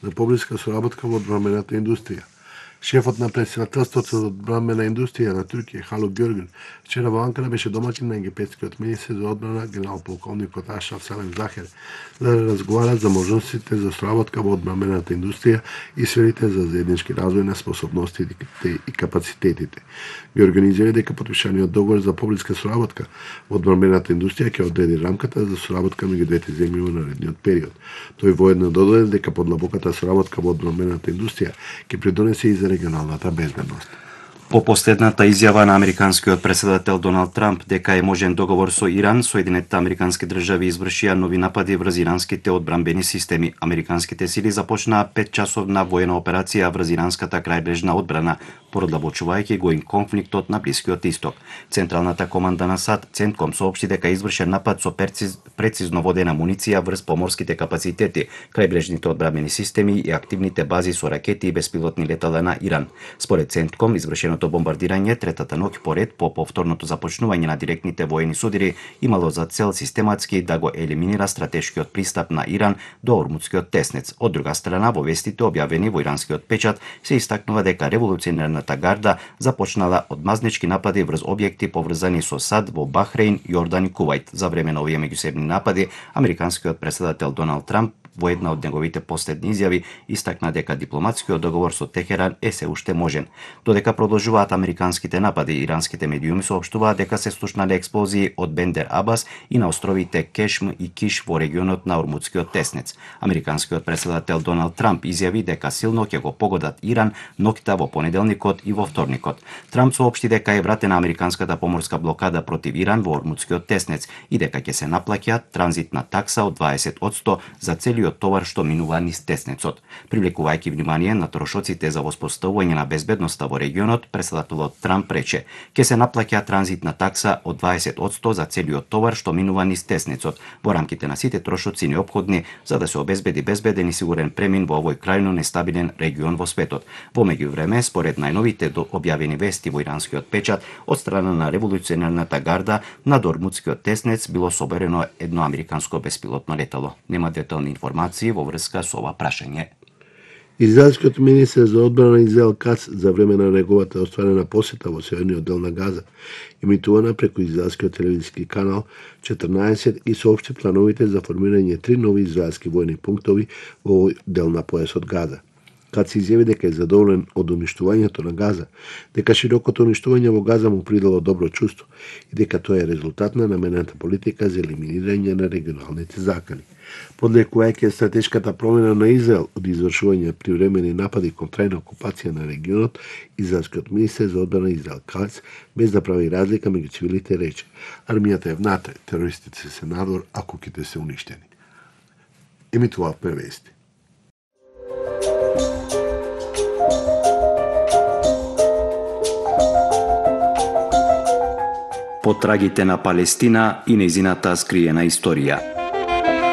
за поблиска соработка во одбранбената индустрија. Шефот на председателството за одбранбена индустрија на Туркија, Халук Георгин, вчера во Анкара беше домаќин на египетскиот министер за одбрана генерал-полковникот Ашраф Салем Захер за да разговара за можностите за соработка во одбранбената индустрија и сферите за заеднички развој на способностите и капацитетите. Георгин изјави дека потпишаниот договор за поблиска соработка во одбранбената индустрија ќе одреди рамката за соработка меѓу двете земји во наредниот период. Тој воедно додаде дека подлабоката соработка во одбранбената индустрија ќе придонесе и за регионалната безбедност. По последната изјава на американскиот председател Доналд Трамп дека е можен договор со Иран, Соединетите американски држави извршија нови напади врз иранските одбранбени системи. Американските сили започнаа 5-часовна воена операција врз иранската крајбрежна одбрана, продлабочувајќи го конфликтот на Блискиот Исток. Централната команда на САД, Центком, соопшти дека извршен напад со прецизно водена муниција врз поморските капацитети, крајбрежните одбранбени системи и активните бази со ракети и беспилотни летала на Иран. Според Центком, извршеното бомбардирање третата ноќ поред по повторното започнување на директните воени судири имало за цел систематски да го елиминира стратешкиот пристап на Иран до Ормутскиот теснец. Од друга страна, во вестите објавени во иранскиот печат се истакнува дека револуционерната гарда започнала одмазнички напади врз објекти поврзани со САД во Бахрейн, Јордан и Кувајт. За време на овие меѓусебни напади, американскиот председател Доналд Трамп во една од неговите последни изјави истакна дека дипломатскиот договор со Техеран е се уште можен. Додека продолжуваат американските напади, иранските медиуми соопштуваат дека се слушнале експлозии од Бендер Абас и на островите Кешм и Киш во регионот на Ормутскиот теснец. Американскиот председател Доналд Трамп изјави дека силно ќе го погодат Иран ноќта во понеделникот и во вторникот. Трамп соопшти дека е вратена американската поморска блокада против Иран во Ормутскиот теснец и дека ќе се наплаќа транзитна такса од 20% за целиот товар што минува низ теснецот. Привлекувајќи внимание на трошоците за воспоставување на безбедноста во регионот, председателот Трамп рече: "Ќе се наплаќа транзитна такса од 20% за целиот товар што минува низ теснецот во рамките на сите трошоци неопходни за да се обезбеди безбеден и сигурен премин во овој крајно нестабилен регион во светот." Во меѓувреме, според најновите објавени вести во иранскиот печат од страна на револуционерната гарда, над Ормутскиот теснец било соберено едно американско беспилотно летало. Нема детални информации во врска со ова прашање. Израелскиот министер за одбрана Израел Кац за време на неговата остварена посета во северниот дел на Газа, емитувана преку израелскиот телевизиски канал 14 и соопшти плановите за формирање 3 нови израелски војни пунктови во овој дел на појасот Газа. Кац изјави дека е задоволен од уништувањето на Газа, дека широкото уништување во Газа му придало добро чувство и дека тоа е резултат на намената политика за елиминирање на регионалните закани. Подлекувајќи стратешката промена на Израел од извршување привремени напади кон трајна окупација на регионот, израелскиот министер за одбрана Израел Кац, без да прави разлика меѓу цивилите, рече: "Армијата е внатре, терористите се надвор, а куќите се уништени." Емитуваавме вести. Потрагите на Палестина и нејзината скриена историја.